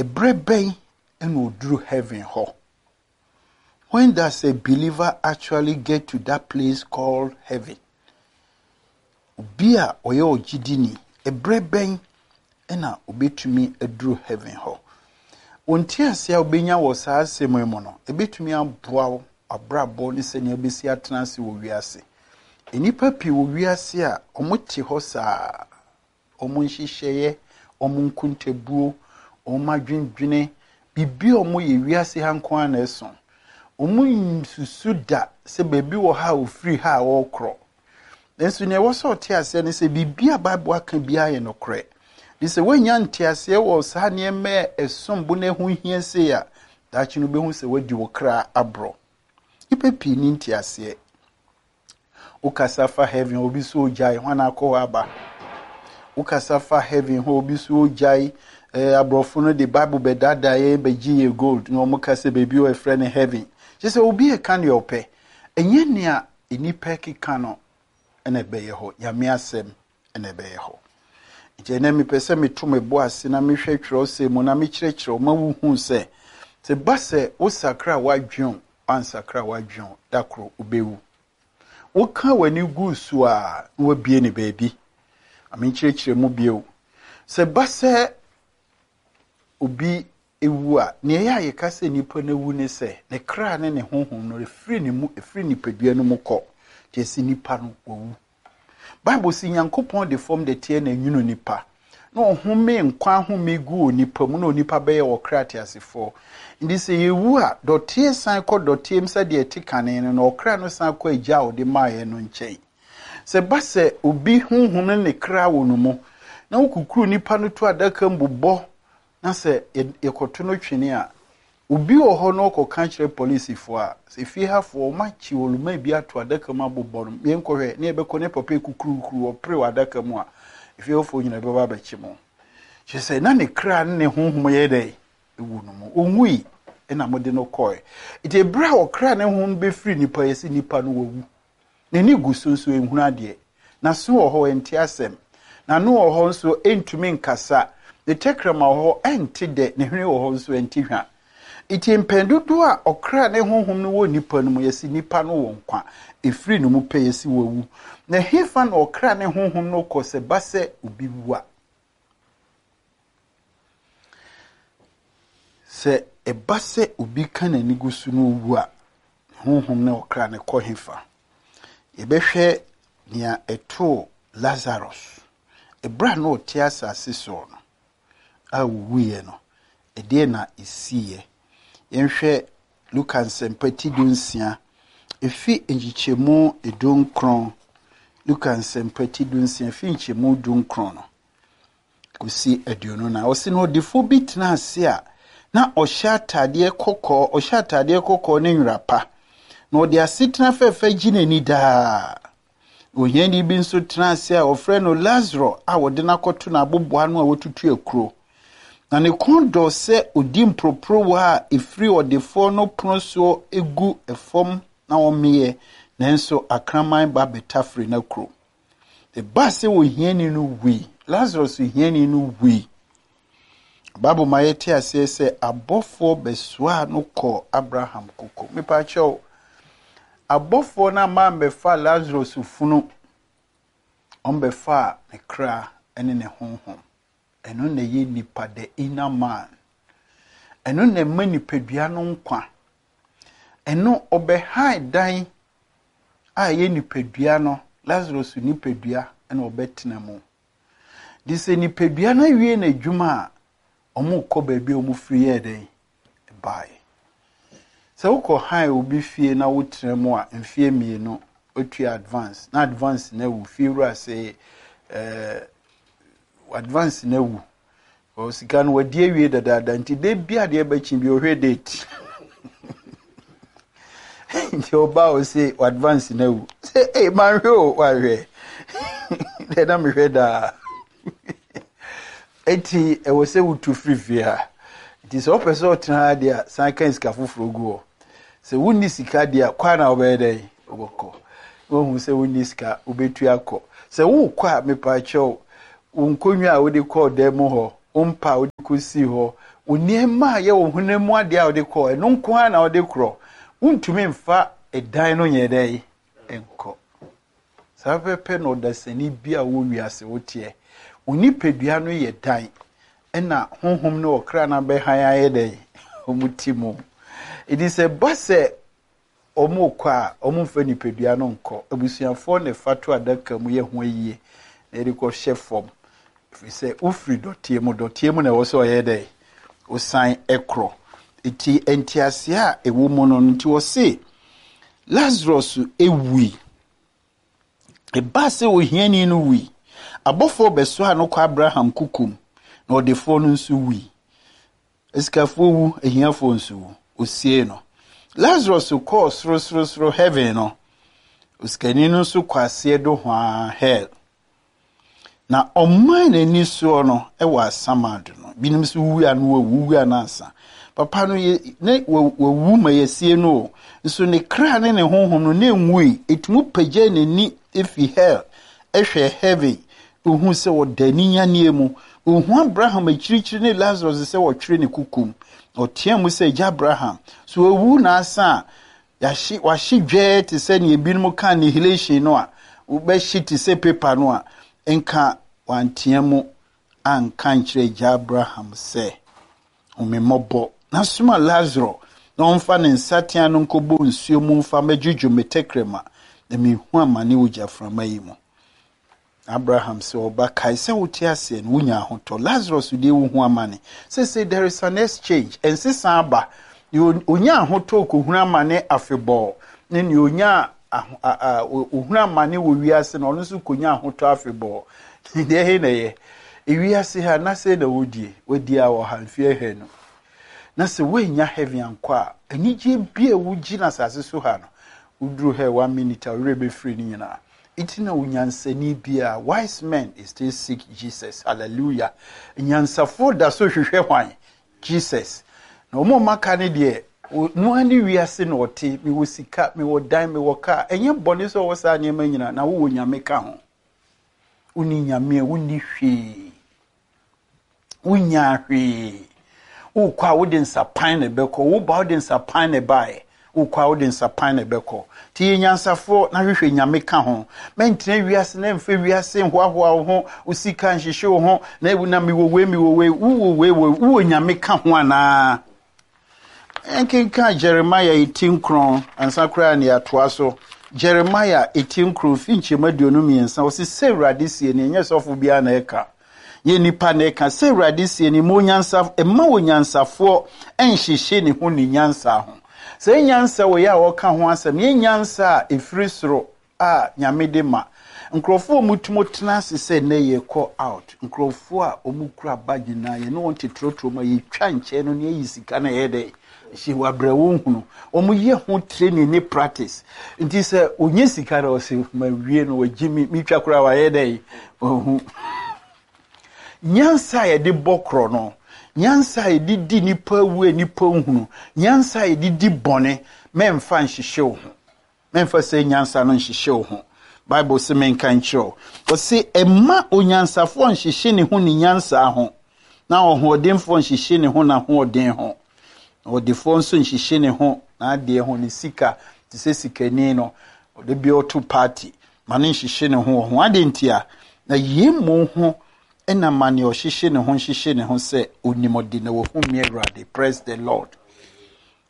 Ɛberɛ bɛn na ɔduru heaven hɔ? When does a believer actually get to that place called heaven? Obi a ɔyɛ ɔgyidini, ɛberɛ bɛn na ɔbɛtumi aduru heaven hɔ? Wo nteaseɛ a wobɛnya wɔ saa asɛm yi mu no, ɛbɛtumi aboa wo abrabɔ ne sɛnea wobɛsi atena ase wɔ wiase. Nnipa pii wɔ wiase a wɔte hɔ saa, wɔn nhyehyɛeɛ, wɔn nkontabuo, wɔn adwendwene, biribi a wɔyɛ wiase ha nko ara na ɛso. Wɔnsusu da sɛ baabi wɔ ha a wɔfiri ha a wɔrekorɔ. Nanso nea ɛwɔ sɛ ɔte aseɛ ne sɛ biribi a Bible aka biara yɛ nokorɛ. De sɛ woanya nteaseɛ wɔ saa nneɛma a ɛsom bo na ɛho hia sei a, daakye no wobɛhu sɛ woadi wo kra aborɔ. Nnipa pii nni nteaseɛ. Wokasa fa heaven obi so ogyae, hwan akɔ hɔ aba? Wokasa fa heaven hɔ obi so ogyae. Eh, aborɔfo no de Bible bɛdaadaa yɛn bɛgye yɛ gold na wɔn ka sɛ baabi wɔ ɛfrɛ no heaven. Kyerɛ sɛ obi ɛka nea ɔpɛ. Ɛnyɛ nea nnipa ɛkeka no na ɛbɛyɛ hɔ. Nyame asɛm na ɛbɛyɛ hɔ. Nti ɛnɛ mepɛ sɛ meto me bo ase na mehwɛ twerɛsɛm mu na mekyerɛkyerɛ wo ma wohu sɛ sɛ ba sɛ wosakra w'adwene o, woansakra w'adwene o, da koro wobɛwu. Woka w'ani gu so a na wabie ne baabi. Ma menkyerɛkyerɛ mu bio. Sɛ ba sɛ obi ewu a, nea ɛyɛ a yɛka sɛ nipa no awu ne sɛ ne kra ne ne honhom no efiri ne mu efiri nipadua no mu kɔ. Nti ɛsɛ nipa no wawu. Bible si Nyankopɔn de fam dɛteɛ na enwunu nipa, na ɔhome nkwa ahome gu onipa mu na onipa bɛyɛ ɔkra teasefoɔ. Nti sɛ yɛwu a, dɔteɛ san kɔ dɔteɛ mu sɛdeɛ ɛte kane no, na ɔkra no san kɔ agya a ɔde maeɛ no nkyɛn. Sɛ ɛba sɛ obi honhom ne ne kra wɔ no mu, na wokukuru nipa no to adaka mu bobɔ na sɛ yɛkɔto no twene a, obi wɔ hɔ na ɔkɔka kyerɛ polisifoɔ a, sɛ fie hafoɔ wɔakye oluman bi ato adaka mu abobɔ no, yɛnkɔhwɛ ne yɛbɛkɔ ne papa kukurukuru ɔpere wɔ adaka mu a, efie hɔfoɔ nyinaa bɛba abɛkye mo. Kyerɛ sɛ na ne kra ne ne honhom yɛ dɛ ewu no mu. Ɔnwui na mode no kɔe. Nti ɛberɛ a ɔkra ne honhom bɛfiri nipa yɛ sɛ nipa no wawu. N'ani gu so nso ɛnhunu adeɛ. N'aso wɔ hɔ ɛnte asɛm. N'ano wɔ hɔ nso ɛntumi nkasa. Ne tɛkrɛma wɔ hɔ ɛnte dɛ. Ne hwene wɔ hɔ nso ɛnte hwa. Nti mpɛn dodoɔ a ɔkra ne honhom no wɔ nipa no mu, yɛse nipa no wɔ nkwa. Ɛfiri ne mu pɛ yɛse wawu. Na ɛhefa na ɔkra ne honhom no kɔ sɛ ba sɛ obi wu a? Sɛ ɛba sɛ obi ka n'ani gu so na owu a, ne honhom ne ɔkra no kɔ hefa? Yɛbɛhwɛ nea ɛtoo Lazarus. Ɛberɛ a na ɔte asase soɔ no, a ɔwuiɛ no, ɛdeɛn na ɛsiiɛ? Yɛnhwɛ Luka Nsɛmpa ti 16, ɛfi nkyekyɛmu 19. Luka Nsɛmpa ti 16, ɛfi nkyekyɛmu 19 no. Kɔsi 24. Ɔse na ɔdefoɔ bi tena ase a na ɔhyɛ ataadeɛ kɔkɔɔ, ɔhyɛ ataadeɛ kɔkɔɔ ne nwera pa, na ɔde asetena fɛfɛ gye n'ani daa. Ohiani bi nso tena ase a wɔfrɛ no Lasaro a wɔde no akɔto n'aboboano a watutu akuro. Na ne kɔn dɔ sɛ ɔdi mporoporowa a ɛfiri ɔdefoɔ no pono soɔ gu fam na ɔmeeɛ, nanso akraman ba bɛtafere n'akuro. Ɛbaa sɛ ohiani no wui. Lazarus hiani no wui. Bible ma yɛte aseɛ sɛ abɔfoɔ bɛsoaa no kɔɔ Abraham koko. Mepa kyɛw, abɔfoɔ no amma ammɛfa Lazarus funu, wɔbɛfaa ne kra ne ne honhom. Ɛno na ɛyɛ nipa, the inner man. Ɛno na ɛma nipadua no nkwa. Ɛno ɔbɛhan dan a ɛyɛ nipadua no, Lazarus nipadua na ɔbɛtena mu. De sɛ nipadua no awie n'adwuma a, wɔrekɔ baabi a wɔfiri yɛɛ dɛn baeɛ. Sɛ wokɔ han obi fie na wotena mu a, mfeɛ mmienu wotua advance na advance no awu fie wura sɛ ɛɛ advance no awu Ɔ sika no wadi awie dadaada nti da bi adeɛ bɛkye bi ɔhwɛ date nti ɔba a ɔse advance no awu sɛ ei manhwɛ o wahwɛ dɛ na mehwɛ daa eti ɛwɔ sɛ wotu firi fie ha nti sɛ wopɛ sɛ ɔtena ha deɛ a san ka sika foforɔ gu hɔ sɛ wonni sika deɛ a kwan na wobɛyɛ dɛn wobɛkɔ wohu sɛ wonni sika wobɛtu akɔ sɛ wokɔ a mepaakyɛw wo nkonnwa a wode kɔɔ dan mu hɔ. Wo mpa a wode kɔsii hɔ, wo nneɛma a ɛyɛ wo honam mu adeɛ a wode kɔ, ɛno nko ara na wode korɔ. Wontumi mfa ɛdan no nyɛ dɛn nkɔ. Saa pɛpɛ na ɔdasani bi a wɔ wiase woteɛ. Wo nipadua no yɛ dan, ɛna honhom ne ɔkra no abɛhan ayɛ dɛn? Wɔn ti mu. Enti sɛ ɛba sɛ Wɔrekɔ a, wɔmfa nipadua no nkɔ. Abusuafoɔ na ɛfa to adaka mu yɛ ho ayie na yɛde kɔhyɛ fam. Ɛfiri sɛ wofiri dɔteɛ mu, dɔteɛ mu na ɛwɔ sɛ ɔyɛ dɛ, wosan korɔ. Nti nteaseɛ a ɛwɔ mu no nti wɔse Lazarus wui. Ɛbaa sɛ ohiani no wui. Abɔfoɔ bɛsoaa no kɔ Abraham kokom, na ɔdefoɔ no nso wui. Asikafoɔ wu, ahiafoɔ nso wu. Ɔsiee no. Lazarus kɔɔ sorosorosoro, heaven no. Osikani no nso kɔ aseɛ dohoaa, hell. Na ɔmaa n'ani soɔ no wɔ asamando no. Binom nso wu a na wawu, wu a na ansa. Papa no yɛ, ne wawu ma yɛasie no o. Nso ne kra ne ne honhom no na ɛnwui. Ɛtumi pagyaa n'ani fi hell hwɛ heaven. Ohuu sɛ ɔda aninyanneɛ mu. Ohuu Abraham akyirikyiri ne Lasarus sɛ wɔtwere ne kokom. Ɔteaa mu sɛ, Agya Abraham, so wawu na asa a, yɛahye, wahye dwɛɛ te sɛ nea ebinom ka annihilation no a, wobɛhye te sɛ paper no a, nka wantea mu anka ankyerɛ Agya Abraham sɛ, Hu me mmɔbɔ, na soma Lasaro na ɔmfa ne nsateaa no nkɔbɔ nsuo mu mfa mmɛdwodwo me tɛkrɛma, na mehu amane wɔ gyaframa yi mu. Abraham sɛ, Ɔba, kae sɛ wote aseɛ no, wonya ahotɔ. Lazarus deɛ wohu amane. Seesei there is an exchange. Ɛnsesa aba. Deɛ ɔnya ahotɔ kɔhunu amane afebɔɔ, ne deɛ ɔnya ɔhunu amane wɔ wiase no, ɔno nso kɔnya ahotɔ afebɔɔ. Deɛ he na ɛyɛ? Ewiase ha, na sɛ na wodie, wadi a wɔ ha mfeɛ ahanu. Na sɛ woannya heaven ankɔ a, anigyeɛ bi a wogye no asase so ha no, woduru hell one minute a, wo werɛ bɛfiri ne nyinaa. Nti na onyansani biara, wise men is still seek Jesus, hallelujah. Nyansafoɔ da so hwehwɛ hwan? Jesus. Na wɔn a wɔaka no deɛ, no ara ne wiase na ɔte, mewɔ sika, mewɔ dan, mewɔ kaa. Ɛnyɛ bɔne sɛ ɔwɔ saa nneɛma nyinaa, na wowɔ Nyame ka ho. Wonni Nyame a, wonni hwee. Wonyaa hwee. Wokɔ a wode nsapan na ɛbɛkɔ. Woba wode nsapan na ɛbaeɛ. Wokɔ a wode nsapan na ɛbɛkɔ. Nti yɛ nyansafoɔ na hwehwɛ Nyame ka ho. Mɛntena wiase na mfa wiase nhoahoa wo ho, wo sika nhyehye wo ho, na na mewɔ wei mewɔ wei. Wowɔ wei wɔ wowɔ Nyame ka ho anaa? Yɛnkenkan Jeremiah eti nkron ansa koraa na yɛatoa so. Jeremiah eti nkron fi nkyɛmu 23, ɔse sɛ Awurade sie ni, ɛnyɛ sɔfo biara na ɛka. Yɛ nipa na ɛka sɛ Awurade sie ni, ma onyansa, mma onyansafoɔ nhyehye ne ho ne nyansa ho. Sɛ nyansa wɔ yɛ a ɔka ho asɛm, yɛ nyansa a ɛfiri soro a Nyame de ma. Nkurɔfoɔ a wɔtumi tena ase sɛ nnɛ yɛrekɔ out, nkurɔfoɔ a wɔkura bag nyinaa, yɛne wɔn te trɔtrɔ mu a yɛtwa nkyɛn no na yɛyi sika no ɛyɛ dɛ hyɛ wɔ abrɛ wɔn hunu. Wɔyɛ ho training ne practice. Nti sɛ ɔnya sika no ɔsɛ mawie no wagye me metwa koraa wayɛ dɛ ɔhu. Nyansa a yɛde bɔ korɔ no, nyansa a yɛde di nipa awu a nipa nhunu, nyansa a yɛde di bɔne, mɛmfa nhyehye wo ho. Mɛmfa saa nyansa no nhyehye wo ho. Bible se menka nkyerɛ wo. Ɔse, mma onyansafoɔ nhyehye ne ho ne nyansa ho, na ɔhoɔdenfoɔ nhyehye ne ho n'ahoɔden ho, na ɔdefoɔ nso nhyehye ne ho n'adeɛ ho, ne sika, te sɛ sikani no, ɔde bi ɔto party, ma no nhyehye ne ho wɔ ho. Adɛn ntia? Na yei mmom ho na ma nea ɔhyehye ne ho nhyehye ne ho sɛ onim ɔde na wahu me Awurade. Praise the Lord.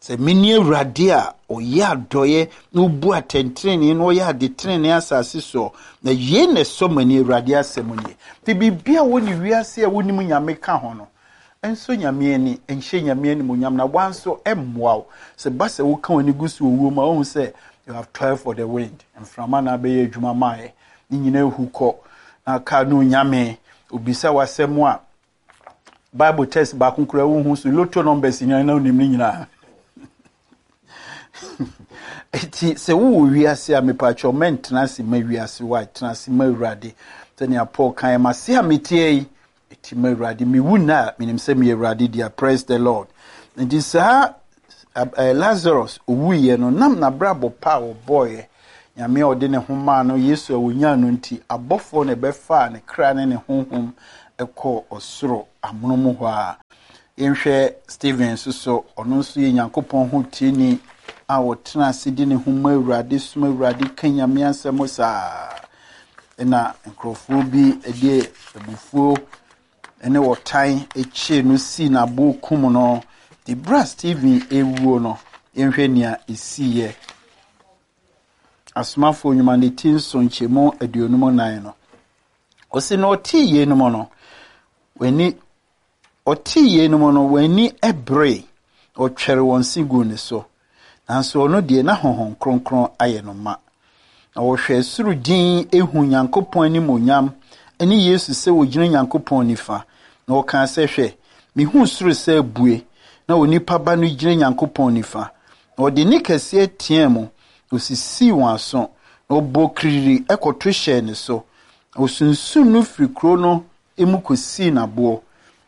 Sɛ mene Awurade a ɔyɛ adɔeɛ na ɔbu atɛntenenee na ɔyɛ ade tenenee asase soɔ, na yei na ɛsɔ m'ani, Awurade asɛm nie. Nti biribi a wɔ ne wiase a wonim Nyame ka ho no, ɛnsɔ Nyame ani, ɛnhyɛ Nyame animuonyam, na woa nso ɛmmoa wo. Sɛ ba sɛ woka w'ani gu so wɔ wuo mu a, wohu sɛ you have toiled for the wind, mframa na abɛyɛ adwuma maayɛ, ne nyinaa hu kɔ, na kaa no Nyame, obisa w'asɛm a, Bible test baako koraa wohu so lotto numbers nyinaa na wonim ne nyinaa. Eti sɛ wowɔ wiase a mepatwɛ mɛntena ase ma wiase wa tena ase ma Awurade. Sɛnea Paul kan ma se a meteɛ yi eti ma Awurade mewu nna a menim sɛ meyɛ Awurade dea. Praise the Lord. Nti saa Lazarus owuiɛ no nam n'abrabɔ pa a ɔbɔeɛ Nyame a ɔde ne ho maa no, Yesu a onyaa no nti, abɔfoɔ na ɛbɛfaa ne kra ne ne honhom kɔɔ ɔsoro. amonom hɔ ara. Yɛnhwɛ Stephen nso so, ɔno nso yɛ Nyankopɔn ho tieni a ɔtena ase de ne ho ma Awurade, som Awurade, ka Nyame asɛm saa. Ɛna nkurɔfoɔ bi de abufuo ne ɔtan kyee no sii n'aboɔ kum no. De berɛ a Stephen rewuo no, yɛnhwɛ nea ɛsiiɛ. Asomafoɔ nnwuma no ti nson nkyɛmu 54 no. Ɔse na ɔtee yeinom no, w'ani ɔtee yeinom no, wɔn ani beree, na ɔtwɛre wɔn se guu ne so. Nanso ɔno deɛ, na Honhom Kronkron ayɛ no ma. Na ɔhwɛɛ soro dinn huu Nyankopɔn animuonyam ne Yesu sɛ ɔgyina Nyankopɔn nifa. Na ɔkaa sɛ, Hwɛ, mehu soro sɛ abue, na Onipa Ba no gyina Nyankopɔn nifa. Na ɔde nne kɛseɛ teaa mu, na ɔsisii wɔn aso, na ɔbɔɔ kiriri kɔto hyɛɛ ne so. Na ɔsunsum no firi kuro no mu kɔsii no aboɔ.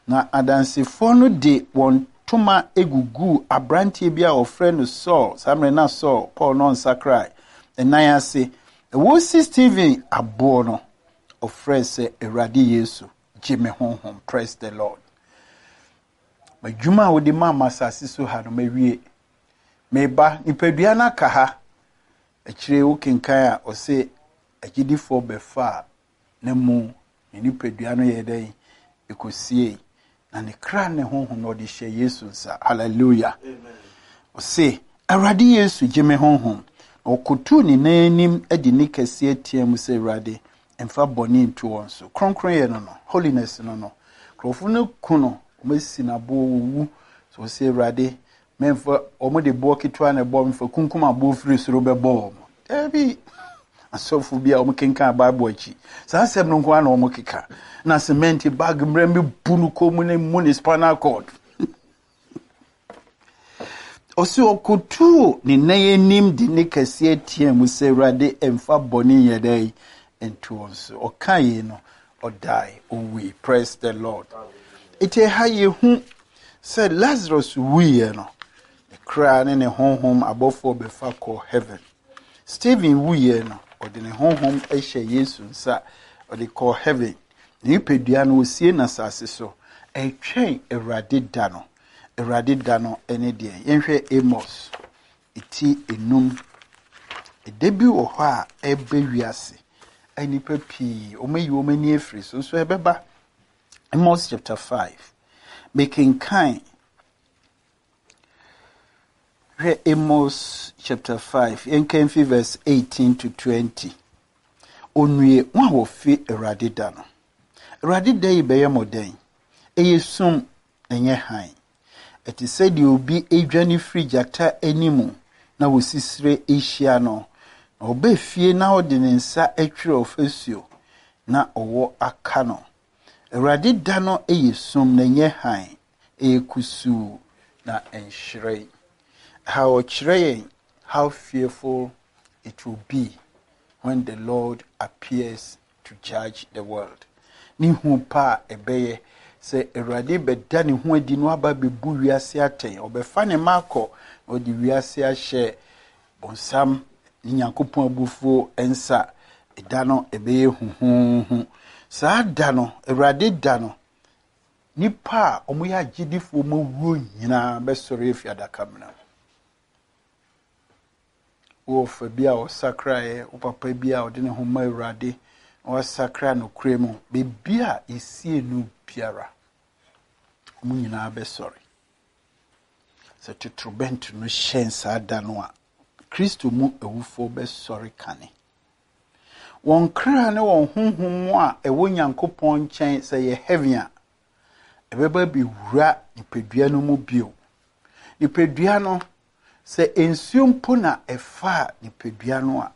Na adansefoɔ no de wɔn ntoma guguu aberanteɛ bi a wɔfrɛ no Saul, saa mmerɛ na Saul, Paul no ɔnsakrae, nan ase. Na wɔresi Stephen aboɔ no, ɔfrɛɛ sɛ, Awurade Yesu, gye me honhom. Praise the Lord. M'adwuma a wode maa m'asase so ha no, mawie. Meba, nipadua no aka ha. Akyire wokenkan a, ɔse agyidifoɔ bɛfaa na mu ne nipadua no yɛɛ dɛn? Ɛkɔsiei. Na ne kra ne honhom no ɔde hyɛ Yesu nsa. Hallelujah. Ɔse, Awurade Yesu, gye me honhom. Na ɔkotuu ne nan anim de ne kɛseɛ teaa mu sɛ, Awurade, mfa bɔne nto wɔn so. Kronkronyɛ no no, holiness no no. Nkurɔfo no ku no, wɔasi no aboɔ, wɔwu. So ɔse, Awurade, Memfa, wɔn de boɔ ketewa na ɛbɔ, memfa kunkum aboɔ firi soro bɛbɔ wɔn. Daabi. Asɔfo bi a wɔkenkan Bible akyi, saa asɛm no nko ara na wɔkeka. Na cement bag mmerɛ mi bu no kɔn mu ne mu ne spinal cord. Ɔsi ɔkotuu ne nan anim de ne kɛseɛ teɛ mu sɛ Awurade mfa bɔne nyɛ dɛ nto wɔn so. Ɔka yei no, ɔdae, owui. Praise the Lord. Eti ɛha yɛhu sɛ Lazarus wuiɛ no, ne kra ne ne honhom abɔfoɔ bɛfa kɔ heaven. Stephen wuiɛ no, ɔde ne honhom hyɛ Yesu nsa, ɔde kɔɔ heaven. Ne nipadua no, wɔsie no asase so. Ɛretwɛn Awurade da no. Awurade da no ne deɛn? Yɛnhwɛ Amos ti enum. Ɛda bi wɔ hɔ a ɛreba wiase a nnipa pii wɔayi wɔn ani afiri so nso ɛbɛba. Amos chapter 5. Mekenkan hwɛ Amos chapter 5 yɛnkan fi verse 18 to 20. Onue wɔn a wɔfi Awurade da no. Awurade da yi bɛyɛ mo dɛn? Ɛyɛ sum, ɛnyɛ hann. Ɛte sɛ deɛ obi redwane firi gyata anim na wɔsisire rehyia no, na ɔba fie na ɔde ne nsa twere ɔfasuo na ɔwɔ aka no. Awurade da no yɛ sum na ɛnyɛ hann, ɛyɛ kusuu na ɛnhyerɛn. Ha ɔkyerɛ yɛn how fearful it will be when the Lord appears to judge the world. Ne hu pa a ɛbɛyɛ sɛ Awurade bɛda ne ho adi na waba abɛbu wiase atɛn. Ɔbɛfa ne mma akɔ na ɔde wiase ahyɛ bonsam ne Nyankopɔn abufuo nsa. Ɛda no ɛbɛyɛ huhuuhu. Saa da no, Awurade da no, nnipa a wɔyɛ agyedifoɔ ma wuo nyinaa bɛsɔre afi adakamena mu. Wo ɔfa bi a ɔsakraeɛ, wo papa bi a ɔde ne ho ma Awurade na wasakra nokorɛ mu, baabi a yɛsie no biara, wɔn nyinaa bɛsɔre. Sɛ totorobɛnto no hyɛn saa da no a, Kristo mu awufoɔ bɛsɔre kane. Wɔn kra ne wɔn honhom mu a ɛwɔ Nyankopɔn nkyɛn sɛ yɛ heaven a, ɛbɛba bɛwura nipadua no mu bio. Nipadua no, Sɛ nsuo mpo na ɛfaa nipadua no a,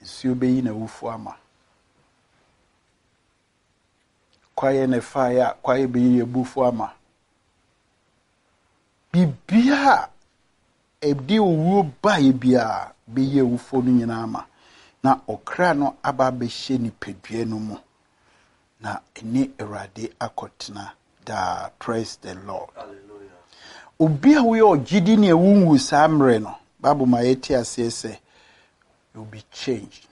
nsuo bɛyi n'awufoɔ ama. Kwaeɛ na ɛfaeɛ a, kwaeɛ bɛyi abufuo ama. Biribiara a ɛde owuo baeɛ biara bɛyi awufoɔ no nyinaa ama, na ɔkra no aba abɛhyɛ nipadua no mu, na ɛne Awurade akɔtena daa. Praise the Lord. Obi a woyɛ ɔgyedi ne ɛwonwu saa mmerɛ no, Bible ma yɛte aseɛ sɛ you will be changed.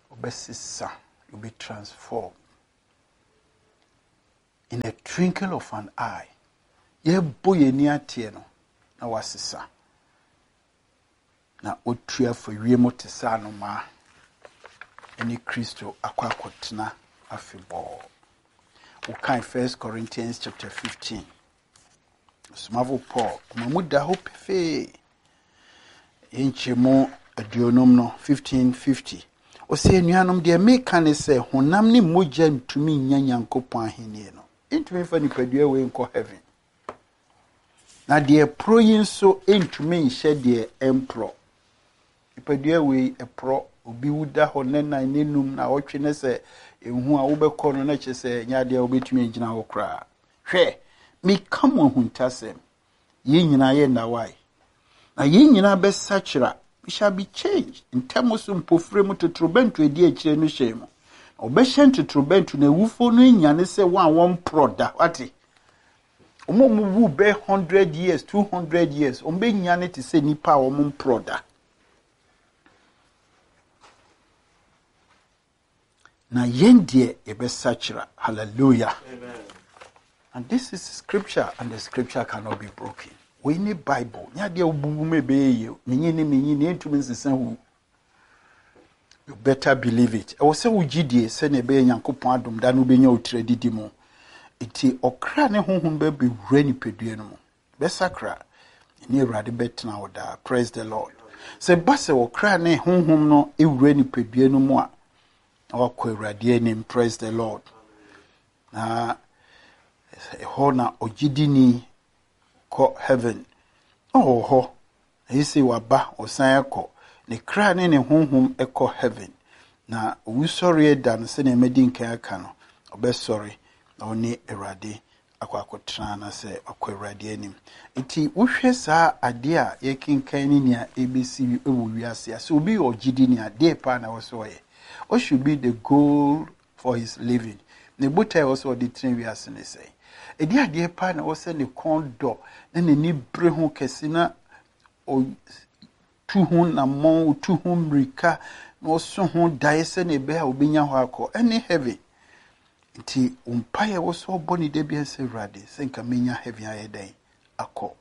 Wobɛsesa, you will be transformed. In a twinkle of an eye, yɛbɔ yɛn ani ateɛ no na wasesa. Na watu afa wiem te sɛ anomaa ne Kristo akɔ akɔtena afebɔɔ. Wokan First Corinthians chapter 15. Ɔsomafo Paul, ɔma mu da hɔ pefee. Nkyɛmu 50 no, 1550. Ɔsɛ anuanom deɛ meka ne sɛ honam ne mogya ntumi nnya Nyankopɔn ahenni no. Ntumi mfa nipadua wei nkɔ heaven. Na deɛ ɛporɔ yi nso ntumi nhyɛ deɛ ɛmporɔ. Nipadua wei ɛporɔ, obi wu da hɔ nnɛ nan ne num na ɔtwe ne sɛ ehu a wobɛkɔ no na kyerɛ sɛ ɛnyɛ adeɛ a wobɛtumi agyina hɔ koraa. Hwɛ, meka mo ahuntasɛm, yɛn nyinaa yɛ nnawae, na yɛn nyinaa bɛsakyera. We shall be changed. Ntɛm so mpofire mu totorobɛnto edi akyire no hyɛn mu. Na wɔbɛhyɛ ntotorobɛnto na awufoɔ no anyane sɛ wɔn a wɔmporɔ da. Wate? Wɔn a wɔwu bɛyɛ 100 years, 200 years, wɔn bɛnyane te sɛ nnipa a wɔn mporɔ da. Na yɛn deɛ yɛbɛsakyera. Hallelujah. Amen. And this is scripture, and the scripture cannot be broken. Wei ne Bible. Nyɛ adeɛ a wobubu mu ɛbɛyɛ yie. Menyi ne menyi ne ɛntumi nsesa hu. You better believe it. Ɛwɔ sɛ wogye die sɛnea ɛbɛyɛ Nyankopɔn adom da no wobɛnya wo tiri adidi mu. Nti ɔkra ne honhom bɛbɛwura nipadua no mu. Bɛsakra. Ɛne Awurade bɛtena hɔ daa. Praise the Lord. Sɛ ba sɛ ɔkra ne honhom no wura nipadua no mu a, na wakɔ Awurade anim. Praise the Lord. Na ɛhɔ na ɔgyedini kɔ heaven. Na ɔwɔ hɔ. Na sɛ waba, ɔsan akɔ. Ne kra ne ne honhom kɔ heaven. Na owusɔreɛ da no sɛnea madi nkan aka no, ɔbɛsɔre na ɔne Awurade akɔ akɔtena anaasɛ wakɔ Awurade anim. Nti wohwɛ saa adeɛ a yɛkenkan ne nea ɛbɛsi wɔ wiase a, sɛ obi yɛ ɔgyedini a, deɛ paa na ɛwɔ sɛ ɔyɛ? What should be the goal for his living? Ne botae a ɛwɔ sɛ ɔde tena wiase ne sɛn? Ɛdeɛ adeɛ paa na ɛwɔ sɛ ne kɔn dɔ na n'ani bere ho kɛse na ɔtu ho nammɔn, ɔtu ho mmirika na ɔso ho daeɛ sɛnea ɛbɛyɛ a ɔbɛnya hɔ akɔ, ɛne heaven. Nti wo mpaeɛ wɔ sɛ ɔbɔ ne da biara sɛ Awurade sɛ nka menya heaven ayɛ dɛn akɔ.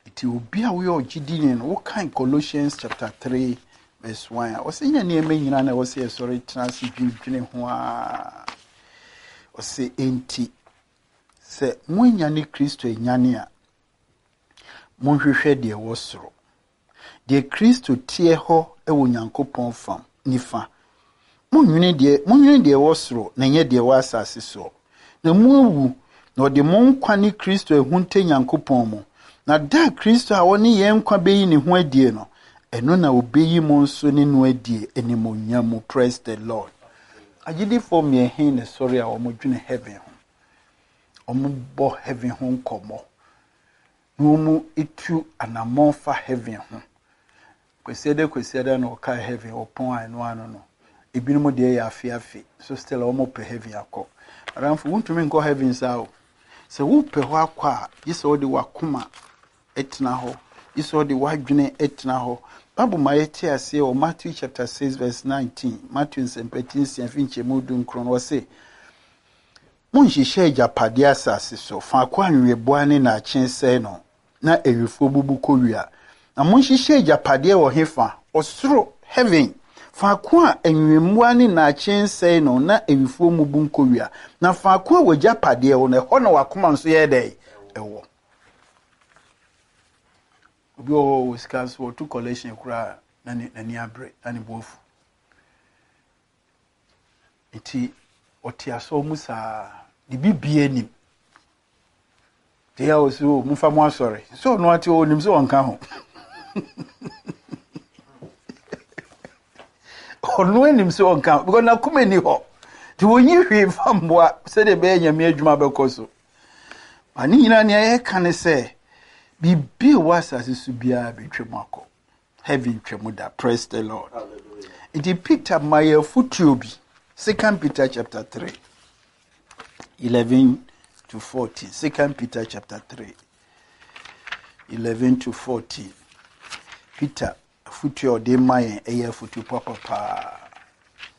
Nti obi a woyɛ ɔgyedini no, wokan Colossians chapter 3 verse 1 a, ɔsɛ nyɛ nneɛma nyinaa na ɛwɔ sɛ yɛsɔre tena ase dwendwene ho a. Ɔsɛ enti sɛ moanya ne Kristo anyane a, monhwehwɛ deɛ ɛwɔ soro. Deɛ Kristo teɛ hɔ wɔ Onyankopɔn fam nifa. Monnwene deɛ, monnwene deɛ ɛwɔ soro na ɛnyɛ deɛ ɛwɔ asase soɔ. Na moawu, na ɔde mo nkwa ne Kristo ahunta Nyankopɔn mu. Na da a Kristo a ɔne yɛn nkwa bɛyi ne ho adie no, ɛno na ɔbɛyi mo nso ne no adie animuonyam mu. Praise the Lord. Agyidifoɔ mmiɛnhe na ɛsɔre a wɔdwene heaven ho? Wɔbɔ heaven ho nkɔmmɔ. Na wɔtu anammɔn fa heaven ho. Kwasiada kwasiada na ɔkae heaven ɔpɔn a ɛno ano no. Ebinom deɛ yɛ afe afe, so still wɔn pɛ heaven akɔ. Madamfo, wontumi nkɔ heaven saa o. Sɛ wopɛ hɔ akɔ a, gye sɛ wode w'akoma tena hɔ, gye sɛ wode w'adwene tena hɔ. Bible ma yɛte aseɛ wɔ Matthew chapter 6 verse 19, Matthew nsɛmpa ti nsia fi nkyɛmu 19, ɔse, Monnhyehyɛ agyapadeɛ asase so, faako a nweweboaa ne nnaakye sɛe no, na awifoɔ bubu kɔwia. Na monhyehyɛ agyapadeɛ wɔ hefa? Ɔsoro, heaven, faako a nwewemmoa ne nnaakye nsɛe no, na awifoɔ mmubu nkɔwia. Na faako a w'agyapadeɛ wɔ no, ɛhɔ na w'akoma nso yɛ dɛn? Ɛwɔ. Obi wɔ hɔ wɔ sika nso wɔto collection koraa na n'ani abere na ne bo afu. Nti ɔte asɔr mu saa, ne biribiara nim. Nti yɛ ɔsi o, momfa mo asɔre. Sɛ ɔno ate hɔ, onim sɛ ɔnka ho. Ɔno anim sɛ ɔnka ho, because n'akoma ni hɔ. Nti wɔnyi hwee mfa mmoa sɛdeɛ ɛbɛyɛ Nyame adwuma bɛkɔ so. Ma ne nyinaa nea yɛka ne sɛ, biribi a ɛwɔ asase so biara bɛtwam akɔ. Heaven twam da. Praise the Lord. Nti Peter ma yɛ afotuo bi. Second Peter chapter 3, 11 to 14. Second Peter chapter 3, 11 to 14. Peter afotuo a ɔde ma yɛn ɛyɛ afotuo papa paa.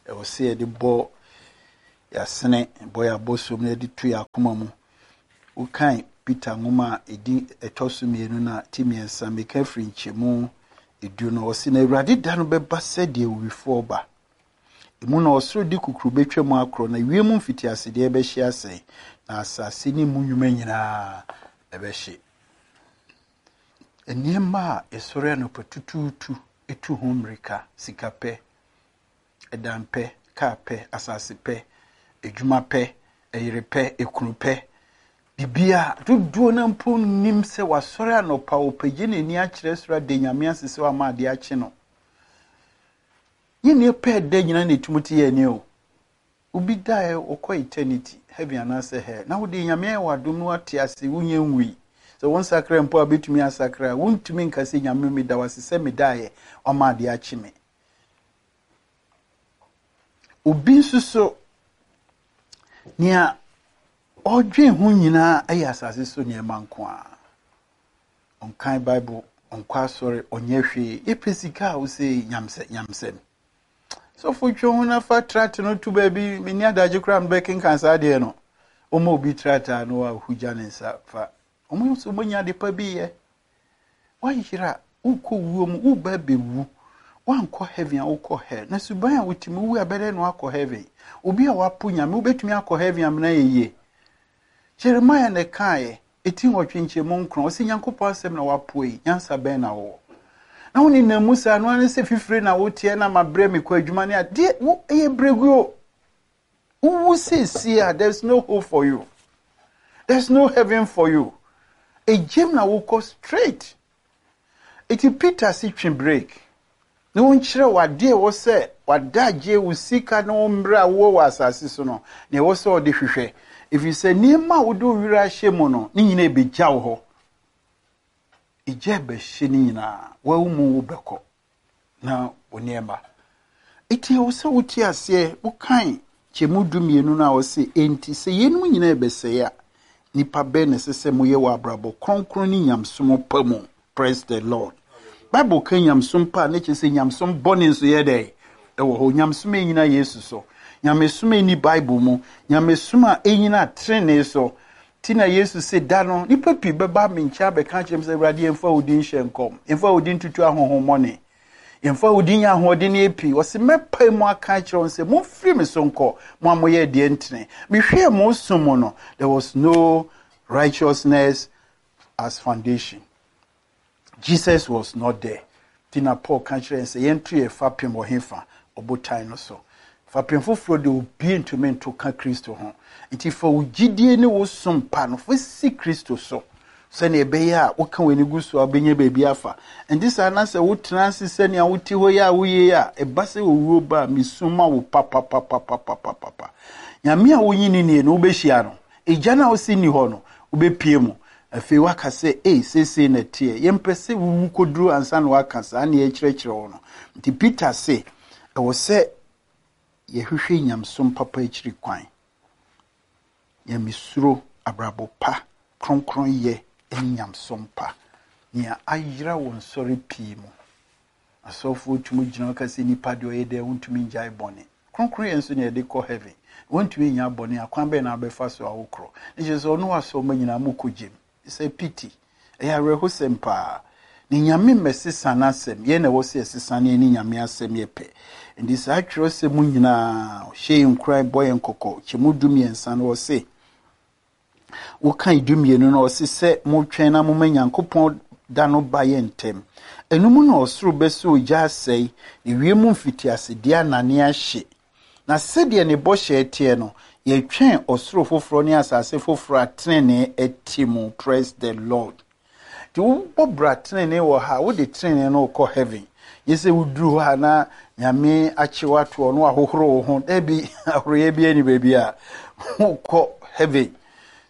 Ɛwɔ sɛ yɛde bɔ. Yɛasene bɔ yɛn abɔsom na yɛde to yɛn akoma mu. Wokan Peter nwoma a ɛdi ɛtɔ so mmienu no a, ti mmiɛnsa, meka firi nkyɛmu edu no, ɔse, Na Awurade da no bɛba sɛdeɛ owifoɔ ba. Emu na ɔsoro de kukuru bɛtwa mu akorɔ, na wiem mfitiasedeɛ bɛhye asɛe, na asase ne mu nnwuma nyinaa ɛbɛhye. Nneɛma a yɛsɔre anɔpa tutuutu tu ho mmirika, sika pɛ, ɛdan pɛ, kaa pɛ, asase pɛ, adwuma pɛ, ɛyere pɛ, ekunu pɛ, biribiara dodoɔ no mpo nnim sɛ wasɔre anɔpa ɔpagye n'ani akyerɛ soro ada Nyame ase sɛ wama adeɛ akye no. Nyɛ nnipa ɛda nyina na ɛtumi te yɛn ani o. Obi daeɛ ɔkɔ eternity, heaven anaasɛ hell, na wode Nyame ayɛ w'adom na wate ase, wonyɛ nwui. Sɛ wonsakra mpo a wobɛtumi asakra, wontumi nka sɛ Nyame meda wo ase sɛ medaeɛ, wama adeɛ akye me. Obi nso so, nea ɔdwen ho nyinaa yɛ asase so nneɛma nko ara. Ɔnkan Bible, ɔnkɔ asɔre, ɔnyɛ hwee. Yɛpɛ sika a wose nyamsɛ nyamsɛm. Sɔfo twe ho na fa tract no to baabi, menni adagye koraa mebɛkenkan saa adeɛ no. Ɔma obi tract a na wahugya ne nsa fa. Wɔn nso wɔnya ade pa bi yɛ. Woayera, wokɔ wuo mu, woba abɛwu. Woankɔ heaven a wokɔ hell. Na suban a wote mu, wowu a bɛdɛn na woakɔ heaven? Obi a wapo Nyame, wobɛtumi akɔ heaven amena yɛ yie? Jeremiah na ɛkaeɛ, ɛti nwɔtwe nkyɛmu nkron, ɔse Nyankopɔn asɛm na wapo yi, nyansa bɛn na wowɔ? Na wo nenam mu saa no ara ne sɛ fifire na woteɛ na mabrɛ mekɔ adwuma ne adeɛ, wo ɛyɛ brɛguo. Wowu seesie a, there is no hope for you. There is no heaven for you. Egyem na wokɔ straight. Eti Peter si twe break. Na wɔnkyerɛ wo adeɛ ɛwɔ sɛ wadagye wo sika ne wo mmerɛ a wowɔ wɔ asase so no, na ɛwɔ sɛ ɔde hwehwɛ. Ɛfiri sɛ nneɛma a wode wo werɛ ahyɛ mu no, ne nyinaa ɛbɛgya wo hɔ. Egya ɛbɛhye ne nyinaa, wawu mu wobɛkɔ. na wo nneɛma. Enti ɛwɔ sɛ wote aseɛ, wokan kyɛmu dumienu no a ɔse, Enti sɛ yeinom nyinaa rebɛsɛe a, nnipa bɛn na ɛsɛ sɛ moyɛ wɔ abrabɔ kronkron ne nyamesom pa mu? Praise the Lord. Bible ka nyamesom pa a, na kyerɛ sɛ nyamesom bɔne nso yɛ dɛn? Ɛwɔ hɔ. Nyamesom a ɛnyina Yesu so. Nyamesom a ɛnni Bible mu. Nyamesom a ɛnyina trenee so. Nti na Yesu se, Da no, nnipa pii bɛba me nkyɛn abɛka akyerɛ me sɛ, 'Awurade, yɛmfa wo din nhyɛ nkɔm, yɛmfa wo din ntutu ahonhommɔne, yɛmfa wo din nyɛ ahoɔdenneɛ pii. Ɔse, mɛpae mu aka akyerɛ wɔn sɛ, 'Momfiri me so nkɔ, mo a moyɛ deɛ ntene. Mehwɛɛ mo som mu no, there was no righteousness as foundation. Jesus was not there. Nti na Paul ka kyerɛ yɛn sɛ yɛnto yɛn fapem wɔ hefa? Ɔbotan no so. Fapem foforɔ deɛ obi ntumi nto ka Kristo ho. Nti fa wo gyidie ne wo som pa no fa si Kristo so sɛnea ɛbɛyɛ a woka w'ani gu so a wobɛnya baabi afa. Nti saa na sɛ wotena ase sɛnea wote hɔ yi a woyɛ yi a, ɛba sɛ owuo ba a, mesu ma wo papapapapapapa. Nyame a wonyi ne nie no, wobɛhyia no. Egya no a wose nni hɔ no, wobɛpue mu. Afei woaka sɛ, Ei, seesei na ɛteɛ. Yɛmpɛ sɛ wowu kɔduru ansa na woaka saa nea yɛkyerɛkyerɛ wo no. Nti Peter se, ɛwɔ sɛ yɛhwehwɛ nyamesom papa akyiri kwan. Nyamesuro, abrabɔ pa, kronkronyɛ ne nyamesom pa. Nea ayera wɔ nsɔre pii mu. Asɔfoɔ tumi gyina hɔ ka sɛ nipa deɛ ɔyɛ dɛn wontumi ngyae bɔne. Kronkronyɛ nso na yɛde kɔ heaven. Wontumi nnya bɔne a, kwan bɛn na wobɛfa so a wokorɔ? Ne kyerɛ sɛ ɔno asɔremma nyinaa mokɔ gyem. It's a pity. Ɛyɛ awerɛhosɛm paa. Na Nyame mmɛsesa n'asɛm, yɛn na ɛwɔ sɛ yɛsesa na yɛne Nyame asɛm yɛ pɛ. Nti saa twerɛsɛm mu nyinaa, ɔhyɛ yɛn nkuran, bɔ yɛn kɔkɔ. Kyɛmu 13 no ɔse, Wokan 12 no, ɔse sɛ motwɛn na moma Nyankopɔn da no ba yɛ ntɛm. Ɛno mu na ɔsoro bɛsɔ ogya asɛe, na wiem mfitiasedeɛ anane ahye. Na sɛdeɛ ne bɔhyɛ teɛ no, yɛtwɛn ɔsoro foforɔ ne asase foforɔ a tenenee te mu. Praise the Lord. Nti wobɔ bra tenenee wɔ ha a, wode tenenee no rekɔ heaven. Nyɛ sɛ woduru hɔ a na Nyame akye wo ato hɔ na wahohoro wo ho. Dabi, ahoroyɛ biara ni baabi a wokɔ heaven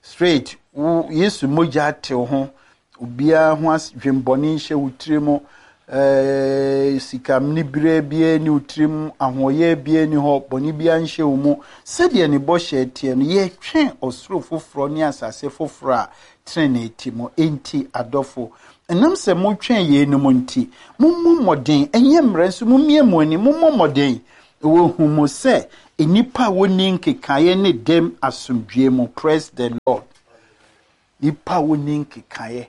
straight. Wo Yesu mogya ate wo ho. Obiara ho adwembɔne nhyɛ wo tiri mu. Eh, sika mniberɛ biara ni wo tirim, ahoɔyɛ biara ni hɔ, bɔne biara nhyɛ wo mu. Sɛdeɛ ne bɔhyɛ teɛ no, yɛtwɛn ɔsoro foforɔ ne asase foforɔ a trenee te mu. Enti, adɔfo, ɛnam sɛ motwɛn yeinom nti, mommɔ mmɔden, ɛnyɛ mmerɛ nso mommie mo ani, mommɔ mmɔden, na wɔahu mo sɛ Nnipa a wɔnni nkekaeɛ ne dɛm asomdwoeɛ mu. Praise the Lord. Nnipa a wɔnni nkekaeɛ.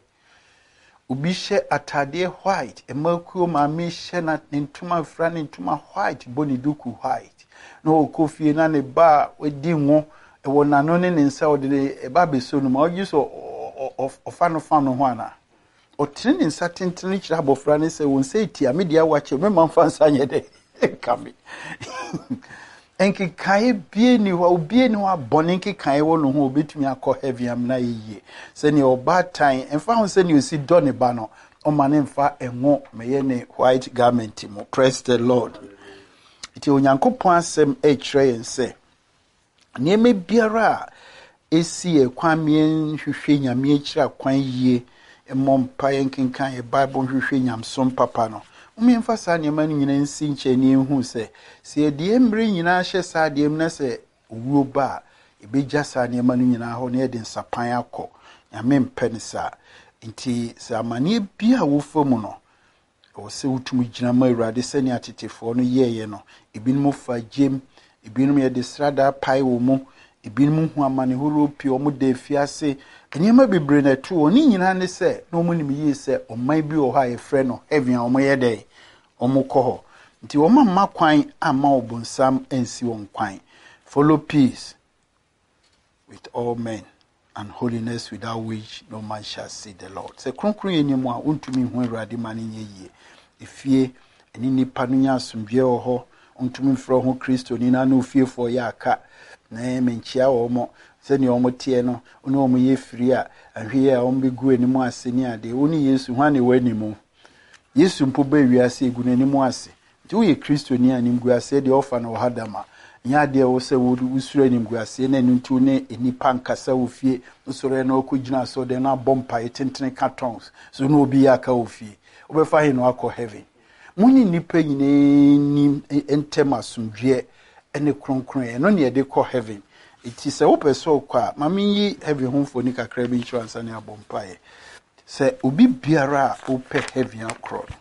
Obi hyɛ atadeɛ white, mmakuo maame hyɛ na ne ntoma fira ne ntoma white, bɔ ne duku white. Na ɔkɔ fie na ne ba a wadi ngo wɔ n'ano ne ne nsa ɔde ne ɛba abɛsɔ no mu a ɔgye sɛ ɔfa no fam no ho anaa? Ɔtene ne nsa tentene kyerɛ abɔfra no sɛ, Wo nsa etia me deɛ awakyɛ, mɛma mfa nsa nyɛ dɛ nka me. Nkekaeɛ bie ni hɔ, obie ni hɔ a bɔne nkekaeɛ wɔ ne ho a obɛtumi akɔ heaven amena yɛ yie. Sɛnea ɔbaatan, ɛmfa ho sɛnea osi dɔ ne ba no, ɔma ne mfa ngo mɛyɛ ne white garment mu. Praise the Lord. Nti Onyankopɔn asɛm ɛrekyerɛ yɛn sɛ Nneɛma biara a esi yɛn kwan ma yɛnhwehwɛ Nyame akyiri akwan yie, mmɔ mpaeɛ, nkenkan yɛn Bible, nhwehwɛ nyamesom papa no, mom yɛmfa saa nneɛma no nyinaa nsi nkyɛn na yɛnhu sɛ, sɛ yɛde yɛn mmerɛ nyinaa hyɛ saa adeɛ mu na sɛ owuo ba a, yɛbɛgya saa nneɛma no nyinaa hɔ na yɛde nsapan akɔ. Nyame mpɛ no saa. Nti sɛ amaneɛ biara a wofa mu no, Ɛwɔ sɛ wotumi gyina ma Awurade sɛnea tetefoɔ no yɛeɛ no. Ebinom fa gyem, ebinom yɛde sradaa pae wɔn mu, ebinom hu amane horoɔ pii, wɔn da afiase. Nneɛma bebree na ɛto wɔn. Ne nyinaa ne sɛ, na wɔn nim yie sɛ ɔman bi wɔ hɔ a yɛfrɛ no heaven a wɔyɛ dɛn? Wɔkɔ hɔ. Nti wɔn amma kwan amma ɔbonsam ansi wɔn kwan. Follow peace with all men and holiness without which no man shall see the Lord. Sɛ kronkronyɛ ni mu a, wontumi nhu Awurade ma no nyɛ yie. Efie ɛne nnipa no nya asomdwoeɛ wɔ hɔ. Wontumi mfrɛ ho Kristoni na ne ofiefoɔ yɛ aka. Na menkyia wɔn mo sɛnea wɔn teɛ no, wo ne wɔn yɛ firi a, ahwɛ yie a wɔn bɛgu anim ase ne adeɛ. Wo ne Yesu, hwan na ɛwɔ anim? Yesu mpo baa wiase egu n'anim ase. Nti woyɛ Kristoni a, animguaseɛ deɛ ɔfa no wɔ ha da ma. Ɛnyɛ adeɛ a ɛwɔ sɛ wosuro animguaseɛ na ɛno nti wo ne nnipa nkasa wɔ fie. Wosɔre na wokɔgyina asɔredan na abɔ mpaeɛ tentene ka tongues. So ne obi yɛ aka wɔ fie. Wobɛfa he na wakɔ heaven? Mo ne nnipa nyinaa nni ntɛm asomdwoeɛ ne kronkronyɛ. Ɛno ne yɛde kɔ heaven. Nti sɛ wopɛ sɛ wokɔ a, ma menyi heaven ho mfoni kakra bi nkyerɛ ansa na yɛabɔ mpaeɛ. Sɛ obi biara a wopɛ heaven akorɔ no,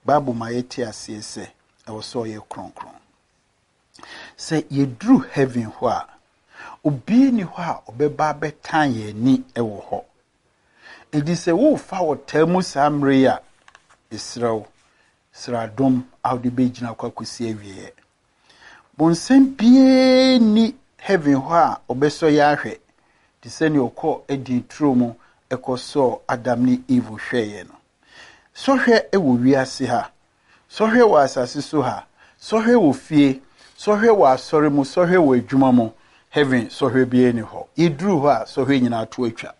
Bible ma yɛte aseɛ sɛ ɛwɔ sɛ ɔyɛ kronkron. Sɛ yɛduru heaven hɔ a, obiara nni hɔ a ɔbɛba abɛtan yɛn ani wɔ hɔ. Enti sɛ worefa ɔtaa mu saa mmerɛ yi a, mesrɛ wo, srɛ adom a wode bɛgyina kɔ akɔsi awieɛ. Bonsam biara nni heaven hɔ a ɔbɛsɔ yɛn ahwɛ te sɛ nea ɔkɔɔ Eden turo mu kɔsɔɔ Adam ne Eve hwɛeɛ no. Sɔhwɛ wɔ wiase ha, sɔhwɛ wɔ asase so ha, sɔhwɛ wɔ fie, sɔhwɛ wɔ asɔre mu, sɔhwɛ wɔ adwuma mu. Heaven sɔhwɛ biara nni hɔ. Yɛduru hɔ a, sɔhwɛ nyinaa to atwa.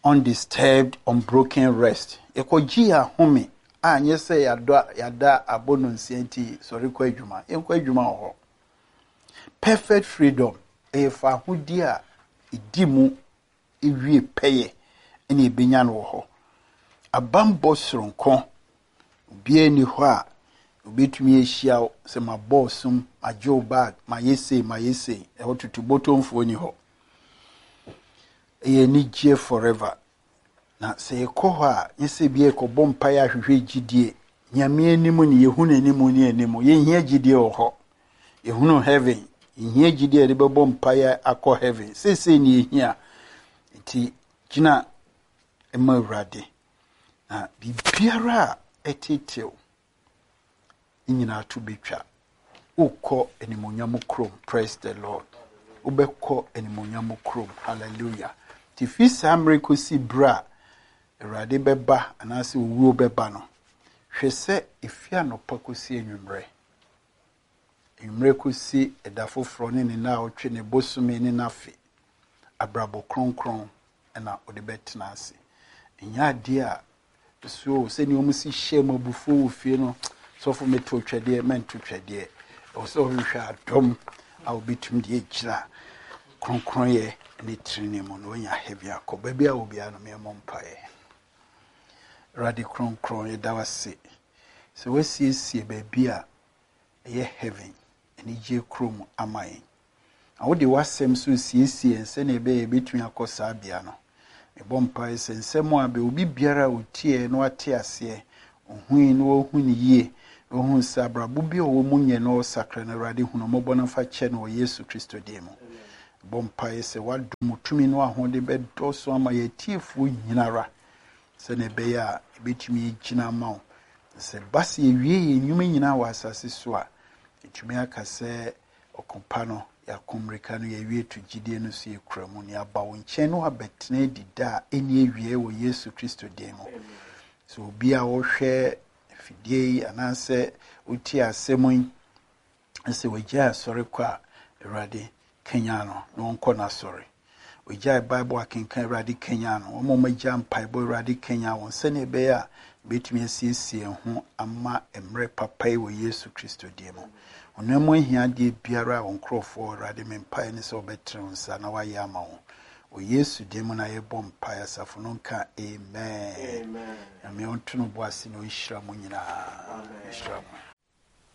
Undisturbed, unbroken rest. Yɛkɔgye yɛn ahome a nyɛ sɛ yɛadɔ yɛada abɔ nonsia nti sɔre kɔ adwuma. Yɛnkɔ adwuma wɔ hɔ. Perfect freedom ɛyɛ fahodie a ɛdi mu ewie pɛyɛ ɛna ɛbɛnya no wɔ hɔ. Abanbɔ soronko, obiara nni hɔ a obɛtumi ahyia wo sɛ mabɔ ɔsom, magye wo bag, mayɛ sei, mayɛ sei. Ɛhɔ tutu bɔtɔmfoɔ ni hɔ. Ɛyɛ anigyeɛ forever. Na sɛ yɛkɔ hɔ a, nyɛ sɛ bi yɛkɔbɔ mpaeɛ ahwehwɛ gyidie. Nyame anim ne yɛhu n'anim ne anim. Yɛnhia gyidie wɔ hɔ. Yɛhunu heaven. Yɛnhia gyidie a yɛde bɛbɔ mpaeɛ akɔ heaven. Seesei ne yɛhia. Nti gyina ma Awurade. Na biribiara a ɛtetew ne nyinaa to bɛtwa. Wokɔ animuonyam kurom. Praise the Lord. Wobɛkɔ animuonyam kurom. Hallelujah. Nti fi saa mmerɛ kɔsi berɛ a Awurade bɛba anaasɛ owuo bɛba no, hwɛ sɛ ɛfi anɔpa kɔsi anwummerɛ. Anwummerɛ kɔsi ɛda foforɔ ne ne naawɔtwe ne bosome ne n'afe. Abrabɔ kronkron na wode bɛtena ase. Ɛnyɛ adeɛ a so sɛnea wɔn si hyɛ mu abufuo wɔ fie no, sɔfo meto twɛdeɛ, mɛnto twɛdeɛ. Ɛwɔ sɛ ɔhwehwɛ adom a wobɛtumi de agyina kronkronyɛ ne tirinwi mu na wanya heaven akɔ. Baabi a wɔ biara no, meɛmmɔ mpaeɛ. Awurade kronkron, yɛda wo ase sɛ woasiesie baabi a ɛyɛ heaven, anigye kurom ama yɛn. Na wode w'asɛm nso resiesie yɛn sɛnea ɛbɛyɛ yɛbɛtumi akɔ saa bea no. Mebɔ mpae sɛ nsɛm a bɛ obi biara a ɔtieɛ na wate aseɛ, ɔhui na wahu no yie, Na ɔhunu sɛ abrabɔ bi a ɔwɔ mu nyɛ na ɔresakra no, Awurade hu no mmɔbɔ na fa kyɛ no wɔ Yesu Kristo din mu. Bɔ mpaeɛ sɛ w'adom, wo tumi ne w'ahoɔden bɛdɔɔso ama yɛn atiefoɔ nyinara sɛnea ɛbɛyɛ a yɛbɛtumi agyina ama wo. Na sɛ ɛba sɛ yɛwie yɛn nnwuma nyinaa wɔ asase so a, yɛtumi aka sɛ ɔko pa no, yɛako mmirika no, yɛawie to gyidie no so, yɛkura mu, na yɛaba wo nkyɛn na wabɛtena adi da a ɛnni awieɛ wɔ Yesu Kristo din mu. Sɛ obi a ɔhwɛ afidie yi anaasɛ wotie asɛm yi sɛ wagyae asɔre kɔ a, Awurade kanyan no na ɔnkɔ n'asɔre. Wagyae Bible akenkan, Awurade kanyan no. Wɔn a wɔagya mpaebɔ, Awurade kanyan wɔn sɛnea ɛbɛyɛ a yɛbɛtumi asiesie yɛn ho ama mmerɛ papa yi wɔ Yesu Kristo din mu. Honam mu ahiadeɛ biara a wɔn nkurɔfoɔ, Awurade, me mpaeɛ ne sɛ wɔbɛtene wo nsa na woayɛ ama wɔn. Wɔ Yesu din mu na yɛbɔ mpaeɛ, asafo no nka amen. Nyame ɔnto no bo ase na ɔnhyira mo nyinaa. Nhyira mo.